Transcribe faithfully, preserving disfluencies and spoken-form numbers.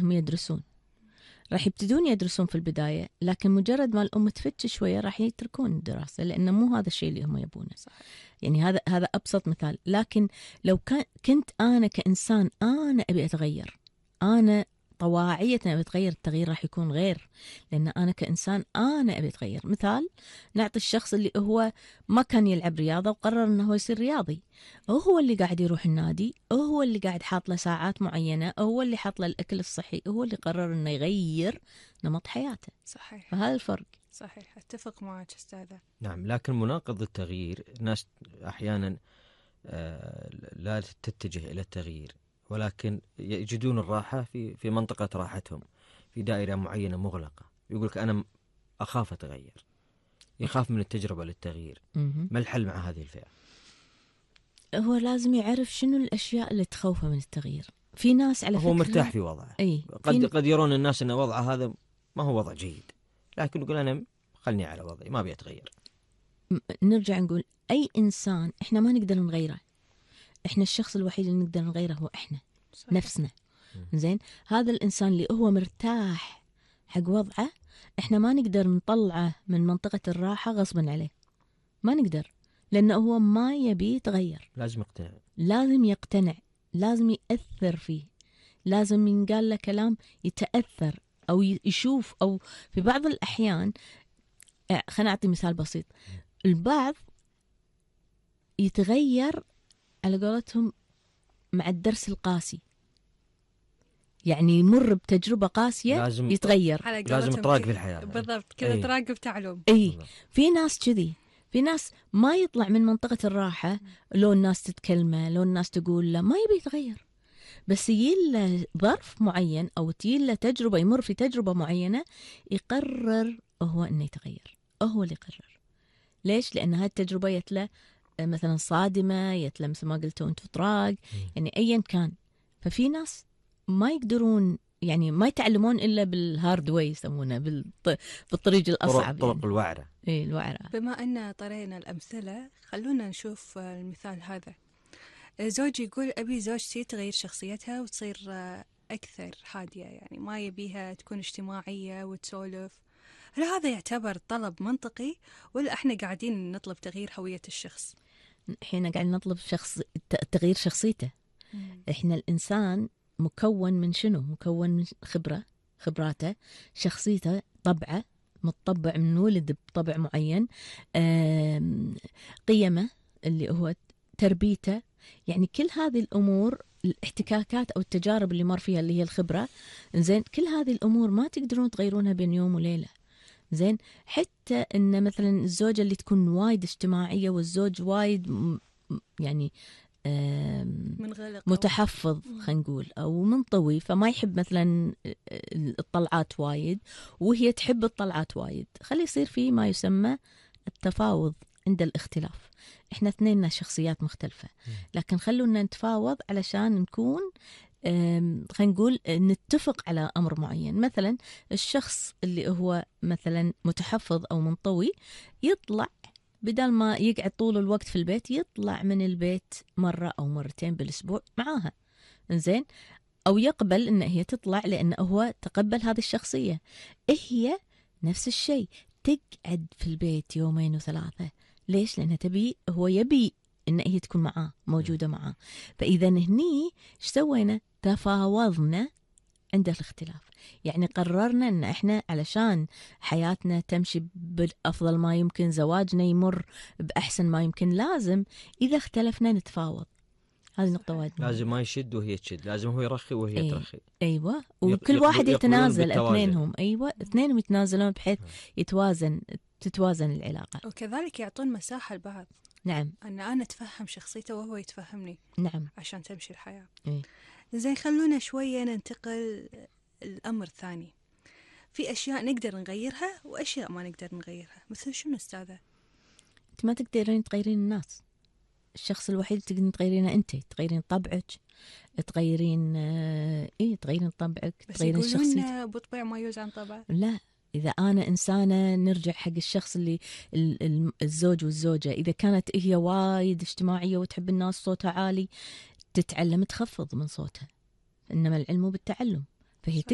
هم يدرسون، راح يبتدون يدرسون في البداية، لكن مجرد ما الأم تفتش شوية راح يتركون الدراسة، لأنه مو هذا الشيء اللي هم يبونه. صحيح. يعني هذا هذا أبسط مثال. لكن لو كان كنت أنا كإنسان أنا أبي أتغير، أنا طواعية أبي أتغير، التغيير راح يكون غير، لأن أنا كإنسان أنا أبي أتغير. مثال نعطي الشخص اللي هو ما كان يلعب رياضة وقرر أنه هو يصير رياضي، هو اللي قاعد يروح النادي، هو اللي قاعد حاط له ساعات معينة، هو اللي حاط له الأكل الصحي، هو اللي قرر أنه يغير نمط حياته. صحيح. فهذا الفرق. صحيح، أتفق معك أستاذة. نعم، لكن مناقض التغيير الناس أحيانا لا تتجه إلى التغيير، ولكن يجدون الراحة في في منطقة راحتهم، في دائرة معينة مغلقة. يقولك أنا أخاف أتغير، يخاف من التجربة للتغيير. ما الحل مع هذه الفئة؟ هو لازم يعرف شنو الأشياء اللي تخوفه من التغيير. في ناس على فكرة هو مرتاح في وضعه. أي قد قد يرون الناس أن وضعه هذا ما هو وضع جيد، لكن يقول أنا خلني على وضعي ما بيتغير. نرجع نقول أي إنسان إحنا ما نقدر نغيره، إحنا الشخص الوحيد اللي نقدر نغيره هو إحنا. صحيح. نفسنا. زين، هذا الإنسان اللي هو مرتاح حق وضعه إحنا ما نقدر نطلعه من منطقة الراحة غصبا عليه، ما نقدر، لأنه هو ما يبي يتغير. لازم يقتنع، لازم يقتنع، لازم يأثر فيه، لازم ينقال له كلام يتأثر أو يشوف. أو في بعض الأحيان، خلينا نعطي مثال بسيط، البعض يتغير على قولتهم مع الدرس القاسي، يعني يمر بتجربة قاسية لازم يتغير، لازم تراقب في الحياة. بالضبط كذا. أيه. تراقب تعلم. اي في ناس كذي، في ناس ما يطلع من منطقة الراحة، لو الناس تتكلمه، لو الناس تقول له، ما يبي يتغير، بس يلا ظرف معين أو تيلا تجربة، يمر في تجربة معينة يقرر هو إنه يتغير، هو اللي يقرر. ليش؟ لأن هاي التجربة يتلا مثلا صادمة، يتلا مثل ما قلتوا أنتوا طراق، يعني أيا كان. ففي ناس ما يقدرون، يعني ما يتعلمون إلا بالهارد واي يسمونه، بالط... بالطريق الأصعب، طرق يعني. الوعرة. إيه الوعرة. بما أن طرينا الأمثلة، خلونا نشوف المثال هذا. زوجي يقول أبي زوجتي تغير شخصيتها وتصير أكثر هادية، يعني ما يبيها تكون اجتماعية وتسولف. هل هذا يعتبر طلب منطقي، ولا إحنا قاعدين نطلب تغيير هوية الشخص؟ إحنا قاعدين نطلب شخص تغيير شخصيته. مم. إحنا الإنسان مكون من شنو؟ مكون من خبرة، خبراته، شخصيته، طبعه، متطبع من ولد بطبع معين، قيمه اللي هو تربيته، يعني كل هذه الأمور، الاحتكاكات أو التجارب اللي مر فيها اللي هي الخبرة. زين، كل هذه الأمور ما تقدرون تغيرونها بين يوم وليلة. زين، حتى إن مثلا الزوجة اللي تكون وايد اجتماعية والزوج وايد يعني منغلق متحفظ، خلينا نقول، أو منطوي، فما يحب مثلا الطلعات وايد، وهي تحب الطلعات وايد، خلي يصير فيه ما يسمى التفاوض عند الاختلاف. احنا اثنين شخصيات مختلفة، لكن خلونا نتفاوض علشان نكون خلينا نقول نتفق على أمر معين. مثلا الشخص اللي هو مثلا متحفظ أو منطوي يطلع، بدل ما يقعد طول الوقت في البيت، يطلع من البيت مرة أو مرتين بالأسبوع معاها. إنزين، أو يقبل إن هي تطلع لأنه هو تقبل هذه الشخصية. هي نفس الشيء، تقعد في البيت يومين وثلاثة. ليش؟ لأنها تبي، هو يبي إن هي تكون معاه، موجودة معاه. فإذا هني إيش سوينا؟ تفاوضنا عند الاختلاف، يعني قررنا ان احنا علشان حياتنا تمشي بافضل ما يمكن، زواجنا يمر باحسن ما يمكن، لازم اذا اختلفنا نتفاوض. هذه نقطة وايد مهمة. لازم ما يشد وهي تشد، لازم هو يرخي وهي أي. ترخي. ايوه، وكل واحد يتنازل، اثنينهم. ايوه، اثنينهم يتنازلون بحيث يتوازن، تتوازن العلاقة. وكذلك يعطون مساحة لبعض. نعم، ان انا اتفهم شخصيته وهو يتفهمني. نعم، عشان تمشي الحياة. أي. زين، خلونا شوية ننتقل الأمر الثاني. في أشياء نقدر نغيرها وأشياء ما نقدر نغيرها. مثل شنو أستاذة؟ أنت ما تقدرين تغيرين الناس، الشخص الوحيد تقدرين تغيرينه أنت، تغيرين طبعك، تغيرين إيه تغيرين طبعك، تغيرين شخصيتك. بس يقولون بطبع ما يوز عن طبع. لا، إذا أنا إنسانة، نرجع حق الشخص اللي الزوج والزوجة، إذا كانت هي وايد اجتماعية وتحب الناس صوتها عالي، تتعلم تخفض من صوتها، إنما العلم بالتعلم. فهي